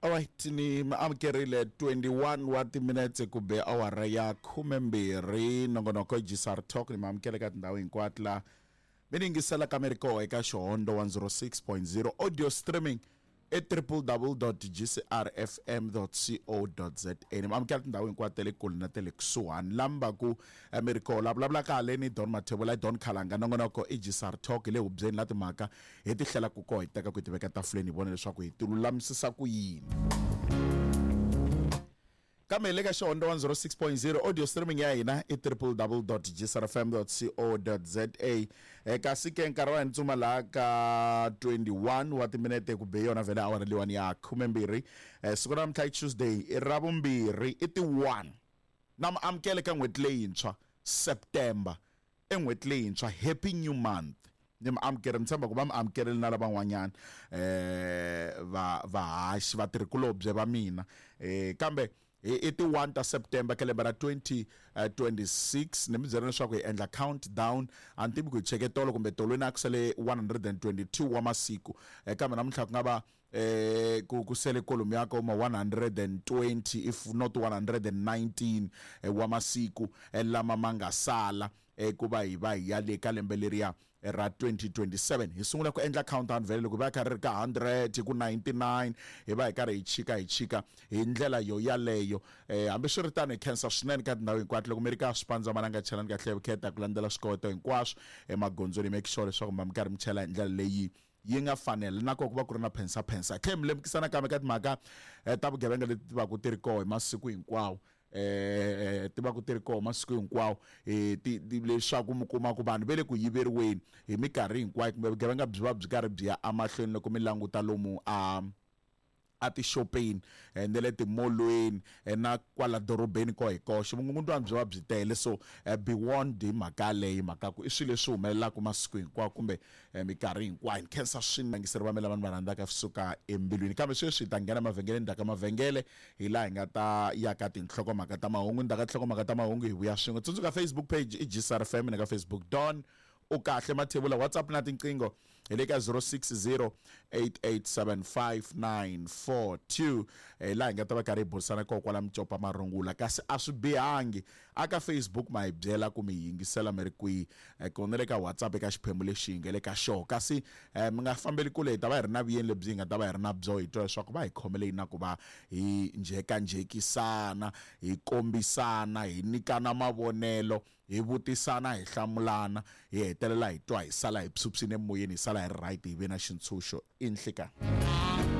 Alright ni mi amukerile 21 wa timinetse ku be awara ya 12 nongonoko GSR Talk ni mi amukele ka tindhawu hinkwato la mi ni yingisela ka mi ri koho eka Xihondo 106.0 audio streaming e www.gcrfm.co.za ni mi amukela tindhawu hinkwato ta le kule na ta le kusuhani la mi va ku eh, mi ri koho la vulavulaka haleni Don Mathebula i Don Khalanga nongonoko i GSR Talk hi le hubyeni la timhaka hi ti hlelaka koho hi teka ku hi ti veka tafuleni hi vona leswaku hi ti lulamisisa ku yini kambe hi le ka xihondzo 106.0 audio streaming ya hina i www.gsrfm.co.za eh, kasi ke nkarhi wa hina tsuma laha ka 21 wa timinete ku be yona vhele awara leyiwani ya 12 eh, siku ra namuntlha i tuesday i ra vumbirhi i ti 1 na mi amukele ka n'hweti leyintshwa september I n'hweti leyintshwa, happy new month. Ni mi amukeri ni tshemba ku va mi amukerile na lavan'wanyana um va vahaxi vatirhikulobye va mina um kambe i ti 1 ta September ka lembe ra 2026 ni mi byela leswaku hi endla countdown a ni tivi ku hi cheke tolo kumbe tolweni a ku sale 122 wa masiku kambe namuntlha ku nga va eh ku ku sele kolomu ya ka ma 120 if not 119 eh, wa masiku eh, lama ma nga sala eh, ku va hi va hi ya le ka lembe leriya eh, ra 2027 hi sungula ku endla countdown vhele loko hi va hi karhi ri ka 100 ku 99 hi va hi karhi hi chika hi chika hi ndlela yo yaleyo eh, hambiswiritano hi khensa swinene ka tindhawu hinkwato loko mi ri ka swipandza mananga chelani kahle vukheta ku landzela swikoweto hinkwaswo emagondzweni make sure leswaku mi va mi karhi mi chela hi ndlela leyi yi nga fanela na kona ku va ku ri na phensaphensa hi tlhela mi lemukisa nakambe ka timhaka eh, ta vugevenga leti ti va ku ti ri koho hi masiku hinkwawo eh ti va ku ti ri koho masiku hinkwawo eh ti leswaku mi kuma ku vanhu ve le ku yiveriweni hi minkarhi hinkwayo kumbe vugevenga byi va byi karhi byi ya emahlweni loko mi languta lomu a etixopeni eh, na le timolweni eh, na kwala dorobeni ko hi koxe vukungundwani byi va byi tele so eh, be warned hi mhaka yaleyo mhaka ku i swilo leswi humelelaka masiku hinkwawo kumbe minkarhi hinkwayo ni khensa swinangiseri va mina lava ni va rhandzaka swi suka embilwini kambe sweswi hi ta nghena mavhengeleni ndzhaku ka mavhengele hi laha hi nga ta ya ka tinhlokomhaka ta mahungu ndzhaku ka tinhlokomhaka ta mahungu hi vuya swin'we tsundzuka facebook page i gsr fm na ka facebook don u kahle mathebula whatsapp na tinqingho hi le ka 060 8875942 hi laha hi nga ta va karhi hi burisana kona kwala micopa marungula kasi a swi bihangi a ka facebook ma hi byela ku mi yingisela mi ri kwihi eh, kona le ka whatsapp eka xiphemu lexi hi nga le ka xoho kasi eh, mi nga fambeli kule hi ta va hi ri na vuyeni lebyi hi nga ta va hi ri na byo hi twa leswaku va hi khomele yini na ku va hi njhekanjhekisana hi kombisana hi nyikana mavonelo hi vutisana hi hlamulana hi hetelela hi twa hi sala hi phyuphyile emoyeni hi sala hi ri right hi ve na xintshunxo i nhlikani.